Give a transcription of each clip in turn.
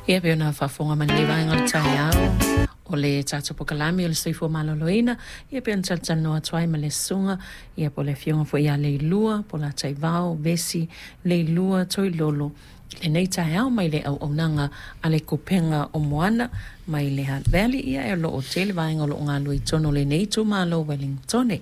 Ia pei ona faafofoga mai lenei vaega o le taeao o le tatou polokalame o le soifua maloloina, ia pei ona talatalanoa atu ai ma le susuga ia po o le afioga foi ia Leilua Polataivao Vesi Leilua Toilolo i lenei taeao mai le auaunaga a le Kupega o Moana mai le Hutt Valley, ia e o lo o tele vaega o lo o galulue i totonu o lenei itumalo o Ueligitone.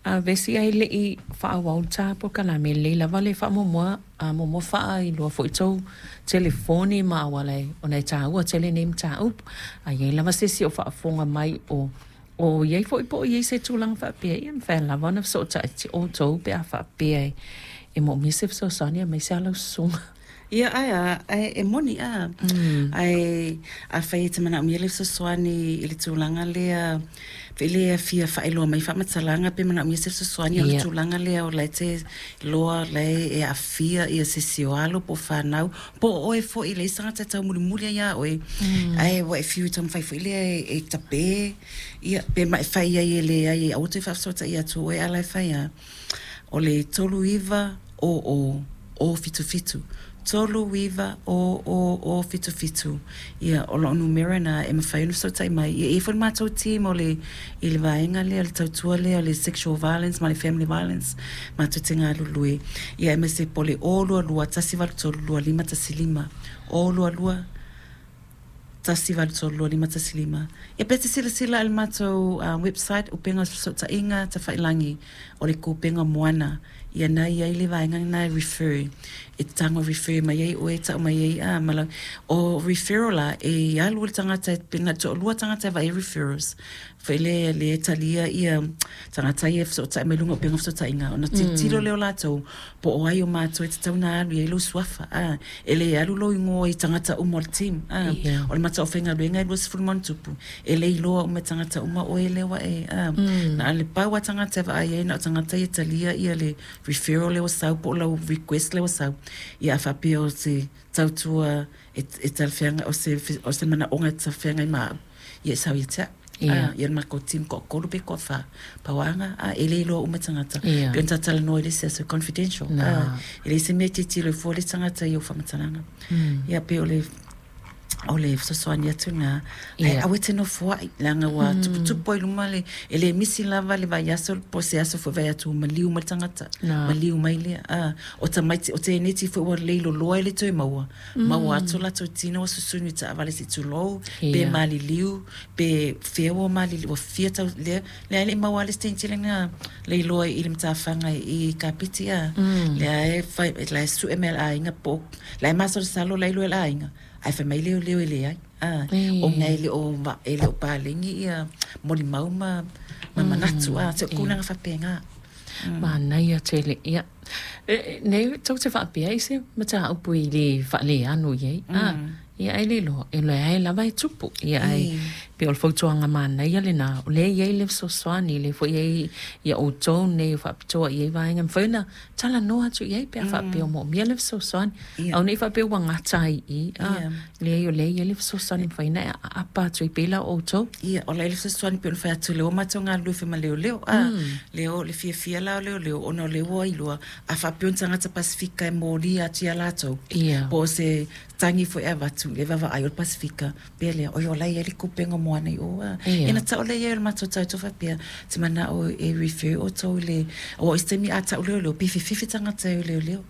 A Vesi ae le i faaauau le ta polokalame, e lelei lava le faamuamua a muamua faailoa foi tou telefoni ma auala ona e taua tele nei mataupu. A i ai lava se isi o faafofoga mai o o i ai foi po o i ai se tulaga faapea, ia e mafai lava ona fesootai outou pe a faapea e moomia se fesoasoani aemaise lava lau susuga. Ia, ae a, ae e moni a. Ae afai e te manaomia le fesoasoani i le tulaga lea, pe le fia faailoa mai faamatalaga pe manaomia se fesoasoani o le tulaga lea o la e te iloa la e aafia ia se isi o alo po o fanau, po o oe foi, leai se tagata e taumulimuli ai ia oe, ae ua e fiu e taumafai foi lea e tape, ia, pe ma e fai ai e leai e aua toe faafesootai atu oe, a la e fai lava. O le 39 00 77, 39 00 77, ia, o lau numera lena e mafai ona fesootai mai. Ia, e i ai foi le matou team o le, i le vaega lea, le tautua lea o le sexual violence ma le family violence, matou te galulue, ia, aemaise po o le 022 183 2515, 022 183 2515. Ia, pe te silasila i le matou website, Upega Fesootaiga Tafailangi, o le Kupenga Moana, ia na i ai le vaega lena e refer, e tago refer mai ai oe, tau mai ai a ma lau, o referral la, e alu le tagata, pe na toalua tagata e vaai referrals, foi lea le talia ia tagata ia e fesootai mai luga o upega o fesootaiga, ona tilotilo lea o latou, po o ai o matou e tatau ona alu i ai lou suafa, a, e le alu lou igoa i tagata uma o le team, a, o le matou aufaigaluega e 20 ma ona tupu, e le iloa uma e tagata uma oe lea ua e, a, na o le pau lava tagata e vaai ai na o tagata ia e talia ia le referral lea ua sau po o lau request lea ua sau. Ia, a faapea o se tautua e talafeagai, o se manaoga e talafeagai ma au, ia e sau ia te au. Ia le matou team toatolu pe toafa pauaga a e le iloa uma tagata pe ona talatalanoa i le isi aso, confidential a, e leai se mea e tilotilo ai fua le tagata i ou faamatalaga. Ia, pe o le fesoasoani atu lena, ae aua e te nofoai leaga ua tuputupu ai luma le e le misi lava le vaiaso po o se aso foi vai atu ua maliu mai le tagata, maliu mai lea a o tamaiti o teineti foi ua leiloloa e le toe maua maua atu latou tino ua susunu i taavale se i tulou pe maliliu pe fea ua maliliu ua fia tau lea lea e le i maua lava le isi teiniti lena leiloa i le matafaga i Kapiti a lea e fai la e sue mai e le aiga po la e masalosalo la e iloa e le aiga ae fai mai leoleo e leai a ona e le o paleni ia molimau ma manatu a se tulaga faapena. Manaia tele. Ia. Nei tou te faapea i se mataupu i le faaleano i ai. Ah, ia e le iloa, e leai lava e tupu. Ia ai pe o le fautuaga manaia lena, o lea e i ai le fesoasoani, le foi ai ia outou nei o faapitoa i ai vaega, mafai ona talanoa atu i ai pe a faapea o moomia le fesoasoani. Aua ne i faapea ua gata ai i i. Ah, leai o lea e i ai le fesoasoani mafai ona e aapa atu ai pei la o outou. Ia, o la e le fesoasoani pe ona fai atu lea ua matou galulue foi ma leoleo. A, lea o le fiafia la o leoleo, ona o lea ua iloa, a faapea o ni tagata Pasifika e molia atu ia latou. Po o se tagi foi e avatu, le vaavaai o le Pasifika, pea lea, oi o la e i ai le kupenga o Moana i o. A. Ina tau lea i ai o le matou tautua faapea, te manao e refer outou i le, aua o isi taimi a tau leoleo, pe fififi tagata e o leoleo.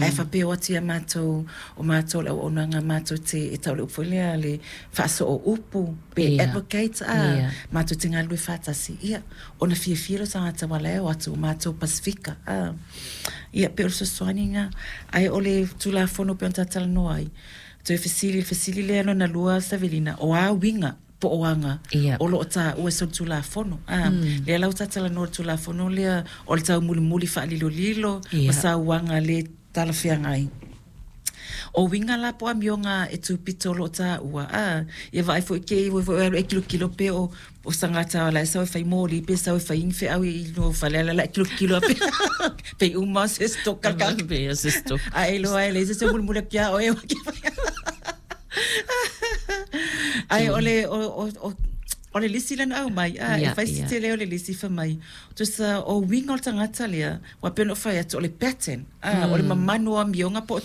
Ae faapea o atu ia matou, o matou le auaunaga matou te, e tau le upu foi lea le faasoo upu, pe advocate a, matou te galulue faatasi. Ia, ona fiafia lea o tagata aua la e o atu o matou Pasifika. A. Ia, pe o le fesoasoani lena. Ae o le Tulafono pei ona talatalanoa ai, toe fesili, le fesili lea lona lua Savelina, o a uiga po o aga o lo o taua i solitulafono. A, lea la ua talatalanoa i le Tulafono lea o le taumulimuli faalilolilo ma sauaga le talafeagai. O uiga la po o amioga e tupito o lo o taua, a, ia vaai foi ke i foi alu e kilokilo pe o tagata la e sau e fai moli pe sau e fai ni feau i no fale ala la e kilokilo pe pe uma se stoka ka Pe o se stock. A e loa e le se mulimuli atu ia oe ai o le o le lisi lea na aumai a e fai si tele o le lisi fai mai tusa o uiga o le tagata lea ua pei ona ou fai atu o le pattern a o le mamanu o amioga po o.